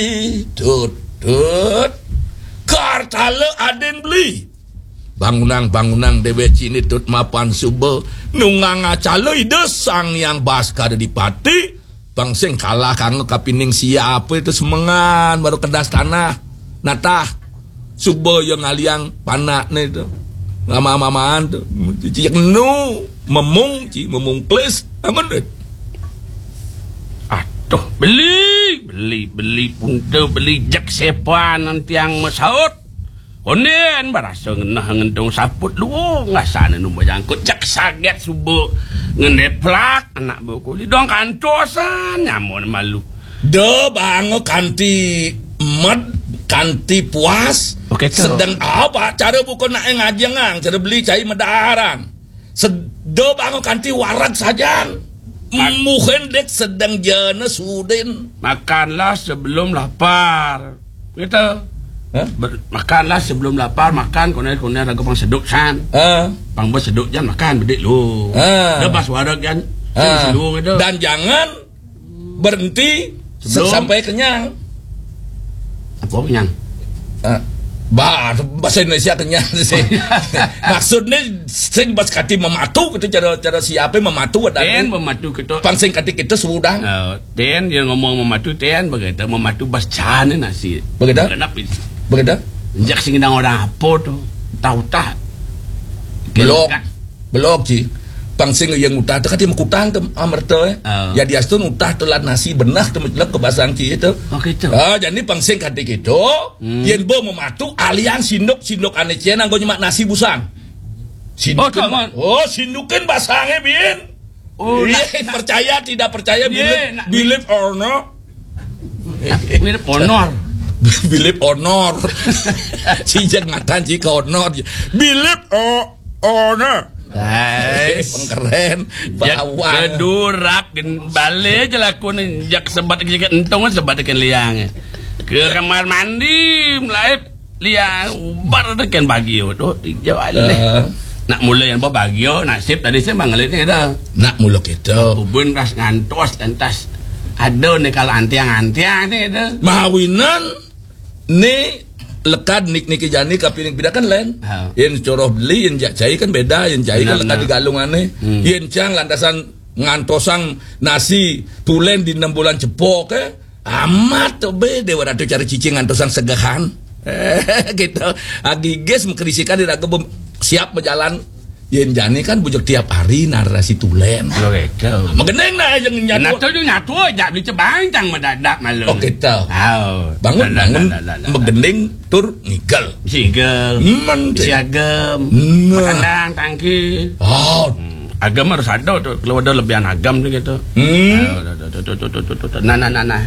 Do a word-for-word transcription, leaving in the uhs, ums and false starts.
Itut, tut. Kartala adin beli. Bangunang, bangunang, déwék ciné tut mapan suba. Nunggang acala Ida Sang Hyang Baskara Dipati. Pang sing kalah kanggo kapining siapé to semengan baru kedas tanah. Natah. Suba ya ngaliang panakné to. Mama-mamaan to. Cicik nu, memung, ci, memung klis. Amun, eh. Aduh, beli, beli, beli punta, beli jek sepan tiang masaut. Ondén barasa ngenah ngentung saput luung, ngasana nu nyangkut, jek saget suba ngendeplak anak buku. Lidong kantosan nyamun malu. Da banga kanti med, kanti puas. Oké, to. Sedeng apa cara buka nak ngajengang, cara beli cai medaran. Sed-, da banga kanti wareg sajan. Mak- Muhin dik sedeng jana sudin. Makanlah sebelum lapar. Gitu. Hah? Ber-, makanlah sebelum lapar, makan, koné-koné raga pang seduk san. Ah. Pang ba seduk jan makan, bedik lu. Ah. Da bas wareg jan, Ah. Sing selu gitu. Dan jangan berhenti se-, Sebelum sampai kenyang. Apa kenyang? Ah, bah, bahasa Indonesia kenyang sih. Maksudnya sing bas kati mematu gitu, cara, cara siapa mematu ada. Tén mematu gitu. Pang sing kati kita sudah. Eh, tén dia ngomong mematu, tén begitu, mematu bas cahane nasi. Begitu? Kenapa itu? Begitu? Njak sing nang orang apa tuh? Tahu tak? Belok. Belok, Ci. Pang sing yang utah tu kati mekutang tu amerta, eh. Ah. Ya diastun utah tu lan nasi benah tu mecelep ke basang Ci itu. Oh, gitu. Ah, jadi pang sing kati gitu. Hmm. Yen bo mematu alian sinduk, sinduk ane cien anggo nyemak nasi busan. Sinduk. Oh, tak, Man. Oh, sindukin basange, Bin. Oh, iya, nak, percaya tidak percaya, iya, believe, nak, believe or not. Mirip honor. Believe honor. Si jek ngatan si ke honor. Believe o-, honor. Guys. Pengkeren. Ya, bawang. Kedurap, gen-, balik aja laku nih. Jak sebat ke, entong sebat ke liang. Ke kamar mandi, melaib. Liang, ubar tu kan bagio tu, hijau alih. Ah. Nak mula yang bagio, nasib tadi saya mangelit ni dah. Nak mula kita. Bubun ras ngantos, lantas. Ada ni kalau antiang-antiang ni dah. Mawinan ni lekad nik niki jani kapining bida kan lain. Ha. Yen coroh beli, yen jak cai kan beda, yen cai kan benar, lekad benar. Di galungan ni. Hmm. Yen cang lantasan ngantosang nasi tulen di enam bulan cepok, eh. Amat tu be, Dewa Ratu cara cicing ngantosang segahan. Gitu. Agigis mengkerisikan di raga bem-, siap berjalan. Yen jani kan bujuk tiap hari narasi tulen. Lo gitu. Megendeng nah yang nyatu. Nah, tu nyatu aja beli cebang cang mendadak malu. Oh, gitu. Oh. Bangun, dah, dah, bangun, dah, dah, dah, dah. Megendeng tur ngigel. Ngigel. Men, siagem. Nah. Makandang, tangki. Oh. Hmm. Agem harus ada tu. Kalau ada lebihan agem tu gitu. Hmm. Oh, tu, tu, tu. Nah, nah, nah, nah.